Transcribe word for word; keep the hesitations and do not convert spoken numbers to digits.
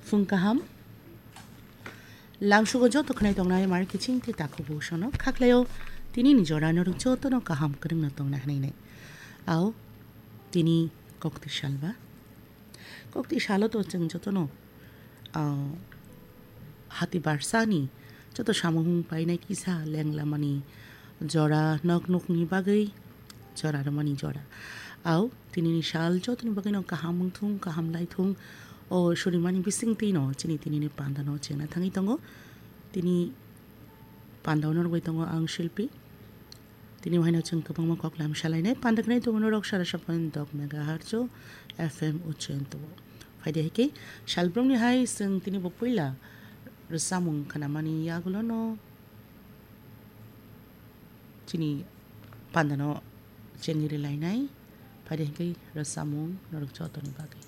Phung kaham. Lamsugo joto khwnai tongnai mari kiching te takhuk busono khaklaio tini ni jora norok joto no kaham kwrwngno tongna hwnwi nai. Ao tini kokti salba. Kokti salo to chwng joto no, ah, hati barsani joto samung painai kisa lenglamani jora nok nokni bagwi jora rwmani jora. Ao tini ni sal jotoni bagwi no kaham wngthung, kaham laithung. O surimani bising twi no chini tini ni panda no chengna thangwi tongo. Tini panda no rwgwi tongo ang Shilpi. Tini haino chwng kwbangma kok lam salainai panda khnai tongo norok sara saphan dok megahertz o F M uchen tongo. Phaidi hai khe salbrumni hai chwng tini bo puila rwchapmung khnamani yagulo no chini panda no chengwi rwlainai. Phaidi hai khe rwchapmung norok jotoni bagwi.